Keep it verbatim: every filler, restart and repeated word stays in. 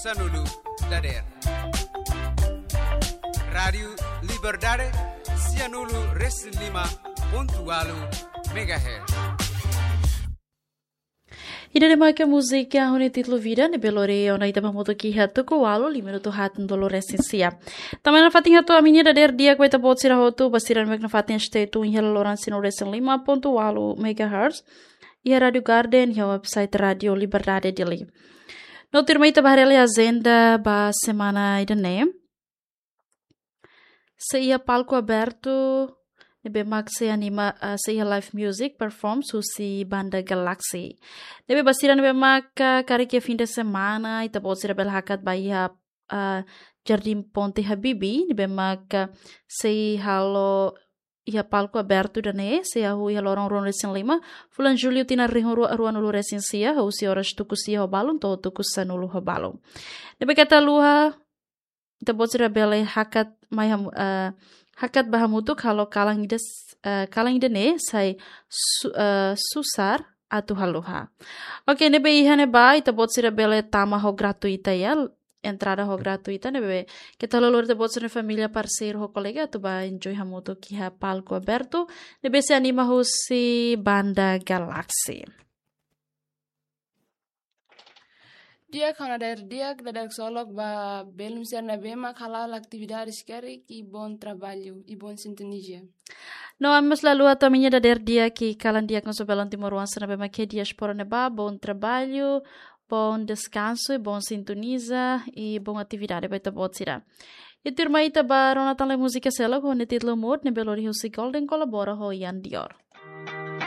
sanulu dadeer. Rádiu Liberdade, sianulu resin lima pontu ualu megahertz. Ida-ne'e mak múzika ho nia títulu Vida, ne'ebé lori ona ita ba hamutuk iha tuku ualu, lima minutu haat no tolu resin sia. Tanba ne'e nafatin hato'o ami-nia dadeer di'ak ba ita-boot sira hotu, ba sira ne'ebé mak nafatin stay tune iha loloran sianulu resin lima pontu ualu megahertz, iha Rádiu Garden, iha website Rádiu Liberdade Dili. No tuirmai ita ba haree lai agenda ba semana ida-ne'e. Sei iha palku abertu, ne'ebé mak sei anima, ah, sei iha live music performance husi Banda Galaxy. Ne'ebé ba sira ne'ebé mak, ah, karik iha fim de semana, ita-boot sira bele hakat ba iha, ah, Jardim Ponte Habibie, ne'ebé mak, ah, sei halo iha palku abertu ida-ne'e, sei hahú iha loron ruanulu resin lima, fulan Jullu tinan rihun rua, ruanulu resin sia, husi oras tuku sia ho balun, to'o tuku sanulu ho balun. Ne'ebé keta haluha, ita-boot sira bele hakat mai ham-, eh, hakat ba hamutuk halo kalan ida s-, eh, kalan ida-ne'e sai su-, eh, susar atu haluha. Oke, ne'ebé iha ne'ebá, ita-boot sira bele tama ho gratuita ya, entrada ho gratuita, ne'ebé keta haluha lori ita-boot sira-nia família, parseiru ho kolega atu ba enjoy hamutuk iha palku abertu, ne'ebé sei anima husi Banda Galaxy. Di'ak, ha'u-nia dadeer-di'ak, dadeer-ksolok ba belun sira ne'ebé mak hala'o atividades karik i bom trabalho, i bom sintonia. No, ami mós la haluha hato'o ami-nia dadeer-di'ak i kalan di'ak ba belun timoroan sira ne'ebé mak iha diáspora ne'ebá, bom trabalho, bom descanso, i bom sintonia, i bom atividade ba ita-boot sira. I tuirmai ita ba rona tan lai múzika seluk, ho nia títulu Mood, ne'ebé lori husi Golden kolabora ho Ian Dior.